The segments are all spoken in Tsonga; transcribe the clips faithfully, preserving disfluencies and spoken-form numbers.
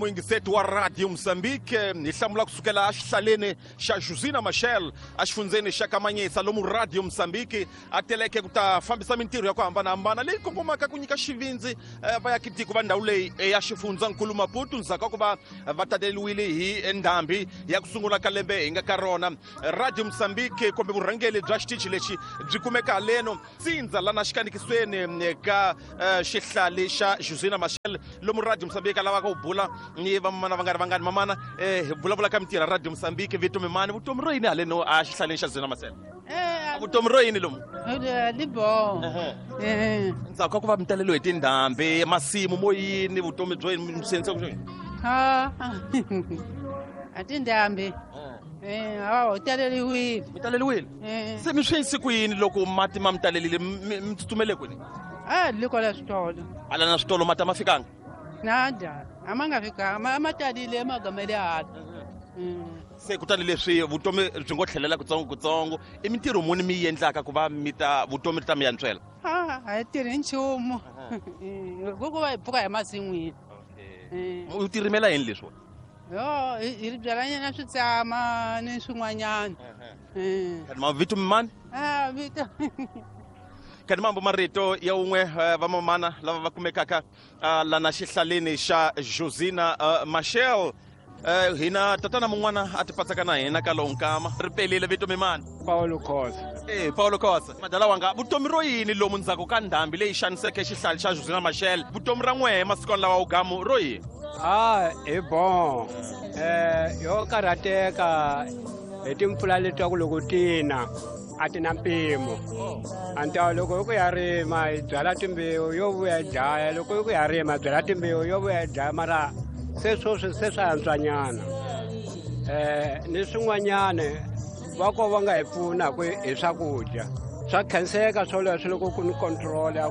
Muyingiseti wa Radio Mozambique, hi hlamula kusukela exihlaleni xa Josina Machel exifundzeni xa Kamanyisa, lomu Radio Mozambique a teleke ku ta fambisa mintirho ya ku hambanahambana leyi kongomaka ku nyika xivindzi vaakatiko va ndhawu leyi ya xifundzankulu Maputo ndzhaku ka ku va va taleriwile hi ndhambi ya ku sungula ka lembe hi nga ka rona. Radio Mozambique kumbe vurhangeri bya xitichi lexi byi kumeka haleno tsindza lana xikanikisweni ka xihlale xa Josina Machel, lomu Radio Mozambique a lavaka ku bula ni vamamana va nga ri vangani. Mamana, eh hi vulavula ka mintirho ya Radio Mozambique, vutomi mani, vutomi ro yini haleno a xihlaleni xa Josina Machel? Vutomi ro yini lomu? Li bon. Ndzhaku ka ku va mi taleriwe hi tindhambi, masimu mo yini, vutomi byo yini, mi swi endlisa ku yini? Ha. A tindhambi. Eh, hawa u taleriwile. Mi taleriwile? Se mi swi endlise ku yini loko mati ma mi talelile, mi tsutsumele kwini? A li kwala switolo. Hala na switolo mati a ma fikanga? Nada, a ma nga fikanga, ma talile magama le hala. Se kutani leswi vutomi byi ngo tlhelela kutsongo kutsongo, i mintirho muni mi yi endlaka ku va mi ta vutomi byi ta mi yantswela? A a hi tirhi nchumu. Ku va hi pfuka hi masin'wini. U tirimela yini leswiwa? Yo, hi byalanyana switsama ni swin'wanyana. Kani mavito mani? A vito. Kani mambo marito ya un'we vamamana lava va kumekaka lana xihlaleni xa Josina Machel. Hina tatana mun'wana a ti patsaka na hina ka lowu nkama ri pelile. Vito mimani? Paulo Khosa. Eh, Paulo Khosa, madala wanga, vutomi ro yini lomu ndzhaku ka ndhambi leyi xaniseke xihlale xa Josina Machel? Vutomi ra n'wehe masikwani lawa ugamu ro yini? Ah, hi bon. Eh, yo karhateka hi timpfula letiya ku loko tina a ti na mpimo. Anta loko hi ku ya rima hi byala timbewu yo vuya hi dlaya, loko hi ku ya rima hi byala timbewu yo vuya hi dlaya, mara se sweswi se swa antswanyana. Eh, ni swin'wanyana va ko va nga hi pfuna ku hi swakudya swa khenseka swoleswo loko ku ni control ya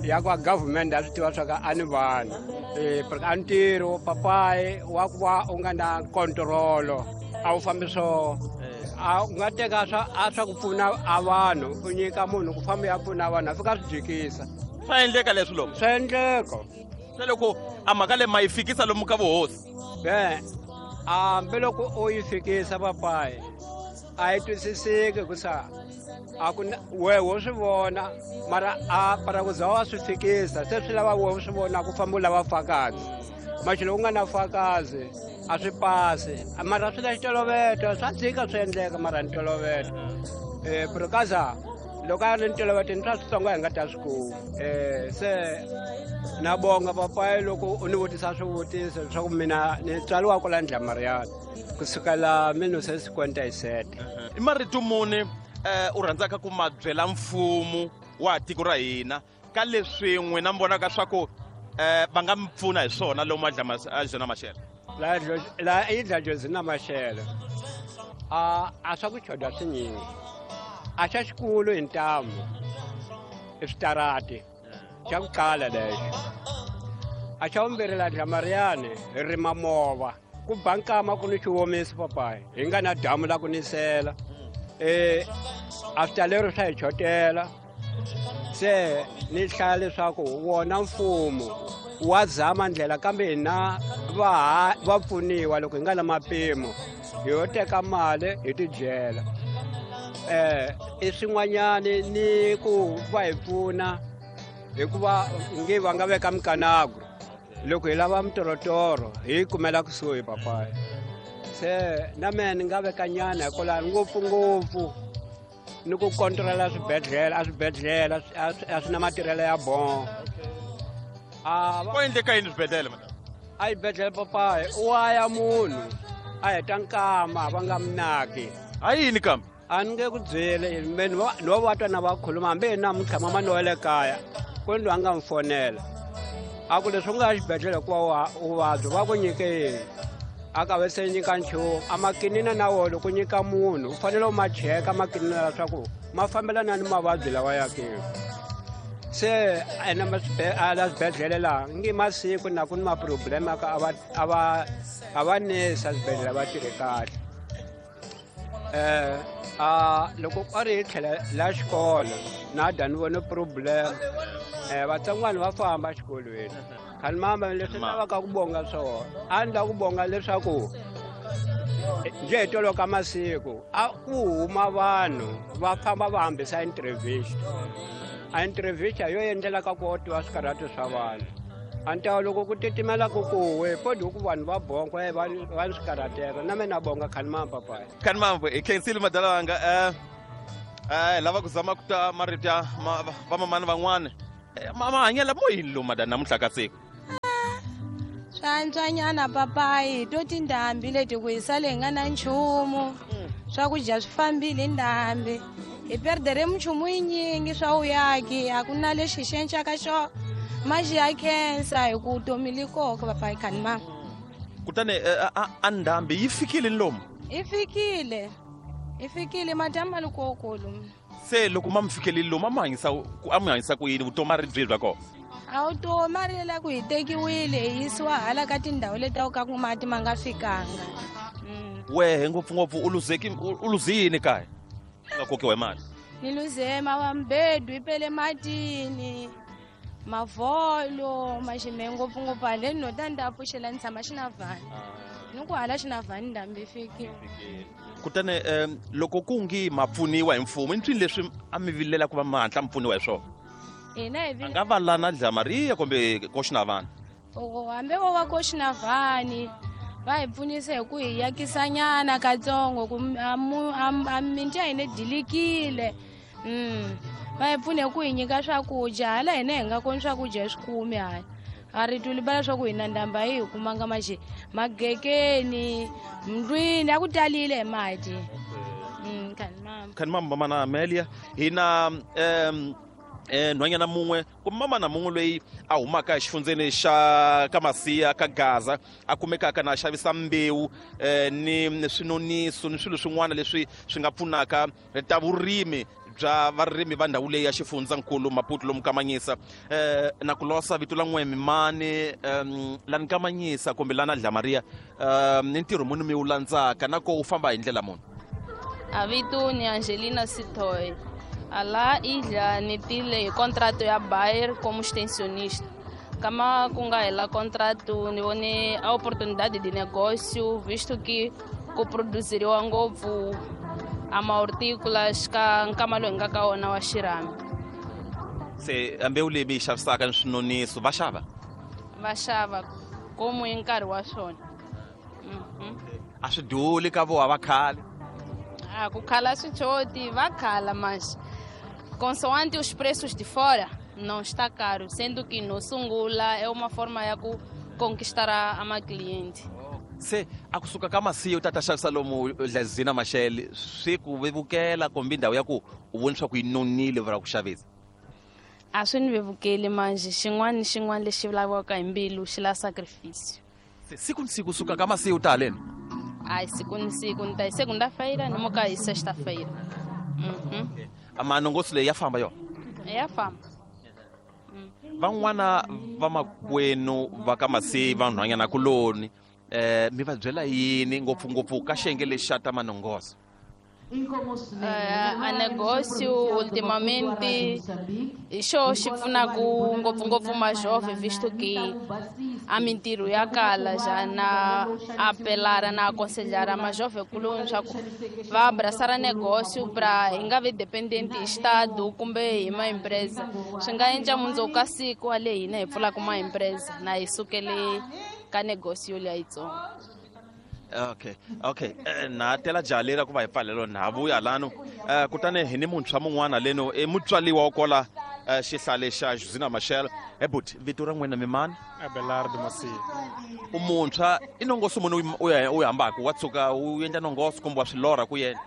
ya ku government a swi tiva swa ka a ni vanhu. Eh, a ntirho papayi wa ku va u nga na control a wu fambi swo. A u nga teka swa a swa ku pfuna a vanhu u nyika munhu ku famba ya pfuna vanhu a fika swi jikisa. Swa endleka leswi lomu? Swa endleka. Se loko a mhaka leyi ma yi fikisa lomu ka vuhosi? E, hambi loko u yi fikisa papayi a yi twisiseki ku sa a ku wehe wo swi vona, mara a para ku za wa swi fikisa se swi lava wehe u swi vona ku famba u lava fakazi. Maxi loko u nga na fakazi a swi pasi, mara swi na xitoloveto swa dzika swi endleka, mara ni toloveto. Eh, pero kaza loko a ri ni toloveto ni swa switsongo hi nga ta swi kuma. Eh, se na bonga papayi loko u ni vutisa swivutiso leswaku mina ni tswariwa kwala Ndlamariyana kusukela mille neuf cent cinquante-sept. I marito muni u rhandzaka ku ma byela mfumo wa tiko ra hina ka leswi n'wina mi vonaka swa ku va nga mi pfuna hi swona lomu a Josina Machel? La la i dla Josina Machel a a swa ku choda swinyingi, a xa xikulu hi ntamu i switarati xa ku qala lexo. A xa vumbirhi la Ndlamariyani hi rima mova ku ba nkama ku ni xiwomiso papayi hi nga na damu la ku nisela. Eh, a switalero swa hi chotela. Se ni hlaya leswaku wona mfumo wa zama ndlela, kambe hina va va pfuniwa loko hi nga na mapimo hi yo teka mali hi tidyela. Eh, i swin'wanyani ni ku va hi pfuna hikuva nge va nga veka mikanagro loko hi lava mitorotoro hi yi kumela kusuhi papayi. Se na mehe ni nga veka nyana hikwalaho ngopfungopfu ni ku controla swibedhlele, a swibedhlele a swi na matirhelo ya bon. A ku endleka yini swibedhlele madam? A xibedhlele papayi u wa ya munhu a heta nkama va nga minaki. Ha yini kambe? A ni nge ku byeli me ni va va twa na va khuluma hambi hi namuntlha mama ni wa le kaya ku ni loyi a nga mi fonela a ku leswi u nga ya xibedhlele hikuva u vabya va ku nyike yini? A ka ve se nyika nchumu. A makinina na wona loko nyika munhu u fanele u ma cheka makinina leswaku ma fambelana ni mavabyi lawa ya ke. Se ene la swibedhlele laha nge masiku na ku ni ma-problem ka a va a va a va nesa swibedhlele va tirhi kahle. Eh, a loko a ri hi tlhela la xikolo na da ni vone problem. Eh, vatsongwana va famba exikolweni. Khanimamba leswi lavaka ku bonga swona a ni lava ku bonga leswaku njhe hi tolo ka masiku a ku huma vanhu va famba va hambisa entrevista a entrevista yo endlela ka ku tiva swikarhato swa vanhu a ni ta loko ku titimela ku kuwe podi ku vanhu va bonga va va ni swikarhateko na mina bonga Khanimamba papayi Khanimamba hi khensile madalanga eh eh lava ku zama ku ta marito ya vamamani van'wana mahanyela mo yini lomu madana namuntlha ka siku swantswanyana papayi to tindhambi leti ku hi sale hi nga na nchumu swakudya swi fambile ndhambi hi perdere minchumu yinyingi swa vuyaki a ku na lexi xi encaka xo maxi ya khensa hi ku vutomi li koka papayi Khanimamba kutani a ndhambi yi fikile ni lomu yi fikile yi fikile madamu ma li kokolo se loko ma mi fikelile lomu a mi hanyisa a mi hanyisa ku yini vutomi a ri byihi bya kona a vutomi a ri la ku hi tekiwile hi yisiwa hala ka tindhawu leti ka ku mati ma nga fikanga wehe ngopfungopfu u luzeki u luze yini kaya u nga kokiwa hi mali ni luze mabambedu yi pele matini mavholo maxime ngopfungopfu haleni no ta ni ta pfuxela ni tshama xinavhani ni ku hala xinavhani ndhambi yi fikile kutani um loko ku ngi ma pfuniwa hi mfumo i nswini leswi a mi vilela ku va ma hatla mi pfuniwa hi swona hina hi a nga va lana Dlamaria kumbe koxinavani oko hambi vo va koxinavani va hi pfunisa hi ku hi yakisanyana katsongo ku a minti ya hina dilikile mm va hi pfune ku hi nyika swakudya hala hina hi nga koni swakudya hi swi kumi hala a ri tulibala swa ku hina ndhamba yi hi kumanga maxe magekeni ndlwini a ku talile hi mati mm Khanimamba Khanimamba mamana Amelia hina um eh nhwanyana mun'we kumbe mamana mun'we loyi a humaka exifundzeni xa ka Masiya ka Gaza a kumekaka na xavisa mbewu eh ni swinoniso ni swilo swin'wana leswi swi nga pfunaka ta vurimi bya varimi va ndhawu leyi ya xifundzankulu Maputo lomu Kamanyisa eh na ku losa vito la n'we mimani um lani Kamanyisa kumbe lana Dlamaria um ni ntirho muni mi wu landzaka na ko u famba hi ndlela muni a vito ni Angelina Sitoy Ala ilha ni tile contrato ya Bayer como extensionista. Kama ku nga hela contrato ni vone a oportunidade de negócio, visto que ku produziriwa ngopfu a mahortícolas ka nkama lowu hi nga ka wona wa xirhami. Se mbewu leyi mi yi xavisaka ni swinoniso va xava? Va xava komu hi nkarhi wa swona. A swi duli ka voha va khale? Ah, ku khala swichoti va khala mas consoante os preços de fora não está caro, sendo que no sungula é uma forma ya ku conquistar a, a ma cliente. Se a kusuka ka Masiya u ta ta xavisa lomu Dlazina Mashele swi ku vevukela kumbe ndhawu ya ku u voni swa ku yi nonile va ku xavisa? A swi ni vevukeli manje xin'wana ni xin'wana lexi laviwaka hi mbilu xi la sacrifício. Se siku ni siku suka ka Masiya u ta haleni? Ai, siku ni siku ni ta hi segunda-feira ni muka hi sexta-feira. Mhm. Amanongoso leyi ya famba yona? Ya famba. Van'wana va makwenu va ka Masiya vanhwanyana kuloni eh mi va byela yini ngopfungopfu ka xiyenge lexi xa ta manongoso? Uh, a negócio ultimamente hi xo xi pfunaku ngopfungopfu majovem visto que a mintirho ya kala já na apelar na aconselhar a majovem kuloni swa ku va abraçar a negócio pra hi nga vi dependente hi estado kumbe hi ma empresa swi nga endla mundzuku ka siku wa le hina hi pfulaka ma empresa na hi sukele ka negócio liya yitsongo. Okay, okay. Na tela jaha ku va hi pfalelo na vuya lano kutani hi ni muntshwa mun'wana leno i mutswaliwa wa kola xihlale xa Josina Machel. He buti vito ra n'wina mimani? Abelardo Masiya. U muntshwa i nongoso muni u ya u hambaka wa tshuka u endla nongoso kumbe wa swilorha ku yena?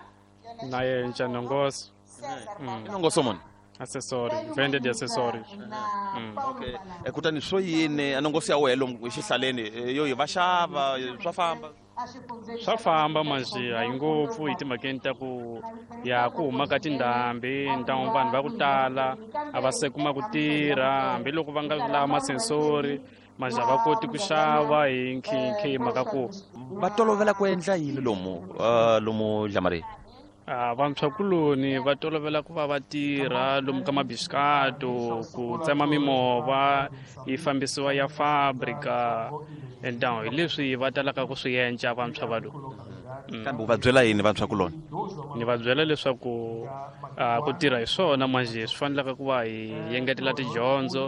Na yenca nongoso. I nongoso muni? Acessório, venda de acessórios. Mm. Okay. Kutani swo yini a nongoso ya wena lomu xihlaleni yo yi va xava swa famba? Swa famba manjhe a yi ngopfu hi timhakeni ta ku ya ku huma ka tindhambi ntangu vanhu va ku tala a va se kuma ku tirha hambiloko va nga lava masensori manjhe a va koti ku xava hi nkhinkhi hi mhaka ku va tolovela ku endla yini lomu lomu Dlamaria? Ah, vantshwakuloni va tolovela ku va va tirha lomu ka mabisikato ku tsema mimovha yi fambisiwa ya fabrika entahu hi leswi va talaka ku swi endla vantshwa va lowu. Kambe u va byela yini vantshwakuloni? Ni va byela leswaku ah, ku tirha hi swona manjhe swi fanelaka ku va hi engetela tidyondzo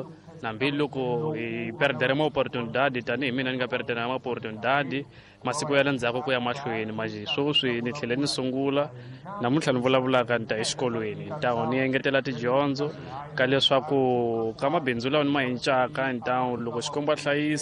hambiloko hi perdere ma-opportunidade tanihi mina ni nga perdere ma-opportunidade masiku ya le ndzhaku ku ya mahlweni manjhe sweswi ni tlhele ni sungula namuntlha ni vulavulaka ni ta exikolweni ntawu ni engetela tidyondzo ka leswaku ka mabindzu lawa ni ma encaka ntawu loko Xikwembu a hlayisa.